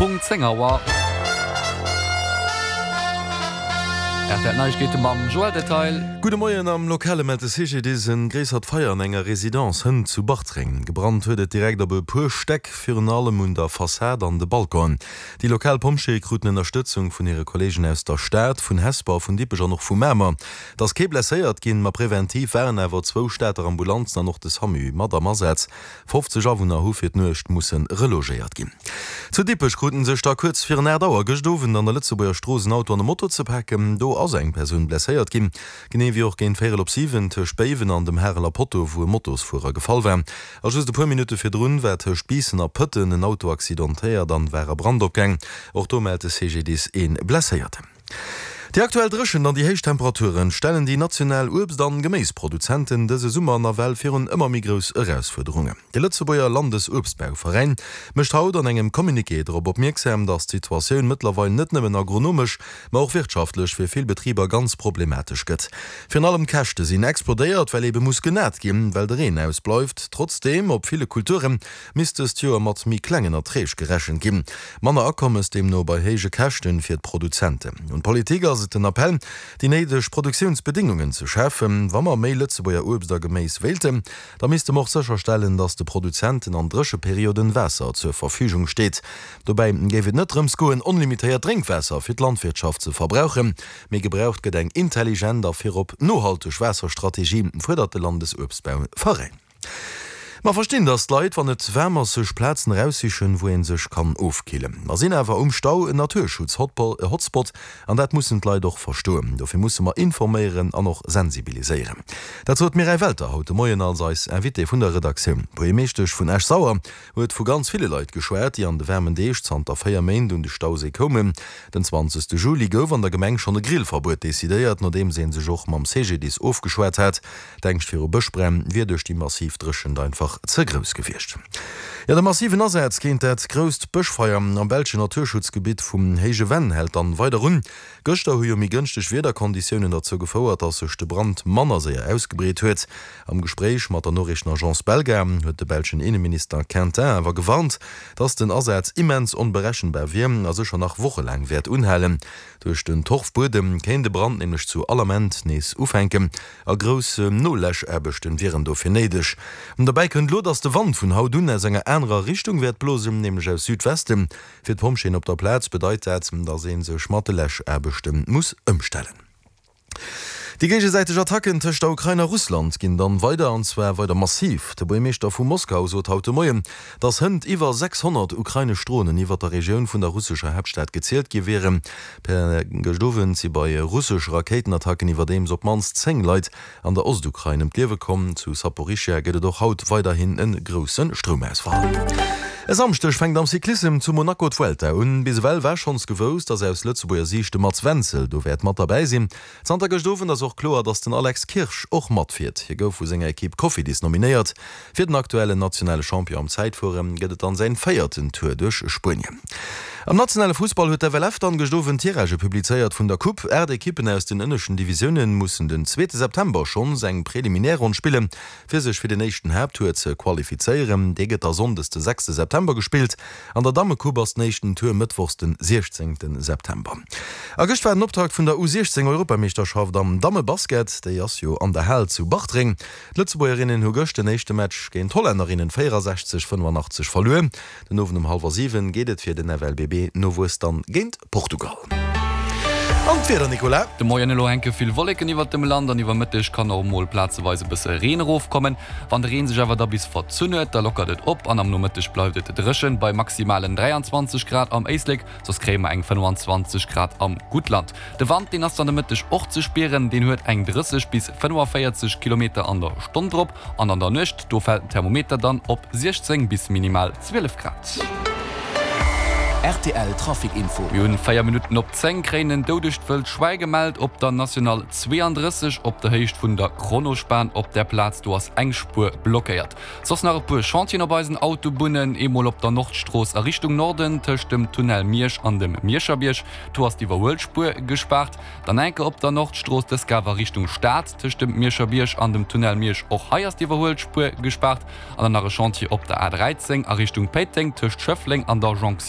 Punkt 10 Auer. Rtl Neiegkeete mam Joël Detail. Gudde Moien, Am Lokale mellt de CGDIS en gréissert Feier an enger Residence hënt zu Bartreng. Gebrannt huet et direkt op e puer Stäck, virun allem un der Fassad an de Balconen. Déi lokal Pompjeeë kruten Ënnerstëtzung vun hire Kolleegen aus der Stad, vun Hesper, vun Dippech an och vu Mamer. Et ass kee blesséiert ginn, ma preventiv waren awer zwou Stater Ambulanzen an och de Samu mat am Asaz. 50 Awunner hu fir d'Nuecht musse relogéiert ginn. Zu Dippech kruten sech da kuerz virun 8 Auer gëscht Owend an der Lëtzebuerger Strooss en Auto an e Moto ze paken. Do ass eng Persoun blesséiert ginn, genee wéi och géint véierel op 7 tëscht Béiwen an dem Hareler Potto, wou e Motosfuerer gefall war. A just e puer Minutte virdrun war tëscht Biissen a Pëtten en Auto accidentéiert an war a Brand opgaang. Och do mellt de CGDIS ee Blesséierten. Déi aktuell Dréchent an déi héich Temperaturen stellen déi national Uebst an Geméisproduzenten dëse Summer nawell virun ëmmer méi grouss Erausfuerderungen. De Lëtzebuerger Landesuebstbauveräin mécht haut an engem Communiqué drop opmierksam, datt d'Situatioun mëttlerweil net nëmmen agronomesch, ma och wirtschaftlech fir vill Betriber ganz problematesch gëtt. Virun allem d'Käschte sinn explodéiert, well ebe muss genat ginn, well de Reen ausbleift. Trotzdeem, op ville Kulture misst dëst Joer mat méi klengen Erträg gerechent ginn. Manner Akommes deemno bei héije Käschten fir d'Produzenten. Un d'Politik ass et den Appell, déi néideg Produktiounsbedéngungen ze schafen. Wa mer méi Lëtzebuerger Uebst a Geméis wéilten, da misste mer och sécherstellen, datt de Produzenten an Drécheperioden Waasser zur Verfügung steet. Dobäi géif et net drëms goen, onlimitéiert Drénkwaasser fir d'Landwirtschaft ze verbrauchen, mee gebraucht gëtt eng intelligent a virop nohalteg Waasserstrategie, fuerdert de Landesuebstbauveräin. Mer verstinn, dass d'Leit, wann et waarm ass, sech Plazen eraussichen, wou ee sech kann ofkillen. Mer sinn awer um Stau en Naturschutz-Hotspot an dat mussen d'Leit och verstoen. Dofir musse mer informéieren an och sensibiliséieren. Dat sot d'Mireille Welter haut de Moien als eis Invitée vun der Redaktioun. D'Buergermeeschtesch vun Esch-Sauer huet vu ganz ville Leit geschwat, déi an de waarmen Deeg zanter 4 Méint un de Stauséi koumen. Den 20 Juli gouf an der Gemeng schonn e Grillverbuet decidéiert, nodeems ee sech och mam CGDIS ofgeschwat hat. D'Ängscht viru Bëschbränn wier duerch déi massiv Dréchent einfach ze grouss gewiescht. Jo, de massiven Asaz géint dat grousst Bëschfeier am belschen Naturschutzgebitt vum Héije Venn hält dann weider un. Gëschter hu jo méi gënschteg Wiederkonditiounen derzou gefouert, dass sech de Brand manner séier ausgebreet huet. Am Gespréich mat der Noriichtenagence Belga huet de belschen Inneminister Quintin awer gewarnt, dass den Asaz immens onberechenbar wier a sécher nach wochelaang wäert unhalen. Duerch den Torfbuedem kéint de Brand nämlech zu all Ament nees ufänken a grouss Noläschaarbechten wieren dofir néideg. Dobäi kënnt elo, dass de Wand vun haut un aus enger anerer Richtung wäert blosen, nämlech aus Südwesten. Fir d'Pompjeeën op der Plaz bedeit dat, dass ee sech mat de Läschaarbechte muss ëmstellen. Déi géigesäiteg Attacken tëscht der Ukrain a Russland ginn dann weider, an zwar weider massiv. De Buergermeeschter vu Moskau sot haut de Moien, datt hënt iwwer 600 ukrainesch Dronen iwwer der Regioun vun der russescher Haaptstad gezielt gi wieren. Per gëscht Owend si bei russesch Rakéitenattacken iwwerdeems op d'mannst 10 Leit an der Ostukrain ëm d'Liewe komm. Zu Saporischschja gëtt et och haut weiderhin e grousse Stroumausfall. E Samschdeg fänkt am Cyclissem zu Monaco d'Vuelta un. Bis ewell war schonns gewousst, datt aus Lëtzebuerger Siicht de Mats Wenzel do wäert mat derbäi sinn. Zanter gëscht Owend ass och kloer, datt den Alex Kirsch och matfiert. Hie gouf vu senger Ekipp Cofidis nominéiert. Fir den aktuellen nationale Champion am Zäitfuere gëtt et dann säin véierten Tour duerch Spuenien. Am nationale Fussball huet d'FLF dann gëscht Owend d'Tiragë publizéiert vun der Coupe. 8 Ekippen aus den ënneschten Divisioune mussen den zweete September schonns eng Preliminärronn spillen, fir sech fir den éischten Haapttour ze qualifizéieren. Dee gëtt da sonndes de sechste September gespillt. An der Dammecoupe ass den éischten Tour mëttwochs den 16 September. A gëscht war den Optakt vun der U 16 Europameeschterschaft am Dammebasket. Déi ass jo an der Hal zu Bartreng. D'Lëtzebuergerinnen hu gëscht den éischte Match géint d'Hollännerinnen 64, 85 verluer. Den Owend um hallwer 7 geet et fir den FLBB Nowuess dann géint Portugal. An d'Wieder, Nicolas? De Moien elo hänke vill Wolleken iwwert dem Land an iwwer Mëtteg kann och mol plazeweis e bësse Reen erofkommen. Wann de Reen sech awer da bis verzunn huet, da lockert et op an am Nomëtteg bleift et dréchen bei maximalen 23 Grad am Éislek, soss kréie mer eng 25 Grad am Guttland. De Wand, deen ass dann de Mëtteg och ze spieren, deen huet eng 30 bis 45 Kilometer an der Stonn drop an an der Nuecht, do fält den Thermometer dann op 16 bis minimal 12 Grad. Rtl Trafic Info. Mir hunn 4 Minutten op 10, kréien en doudegt wëllt Schwäi gemellt op der National 32 op der Héicht vun der Kronospan. Op där Plaz do ass eng Spuer blockéiert. Soss nach e puer Chantieren op eisen Autobunnen, eemol op der Nordstrooss a Richtung Norden tëscht dem Tunnel Miersch an dem Mierscherbierg, do ass d'Iwwerhuelspuer gespaart. Dann enke op der Nordstrooss, dës Gaf a Richtung Stad tëscht dem Mierscherbierg an dem Tunnel Miersch, och hei ass d'Iwwerhuelspuer gespaart. An dann nach e Chantier op der A 13 a Richtung Péiteng tëscht Schëffleng an der Jonction.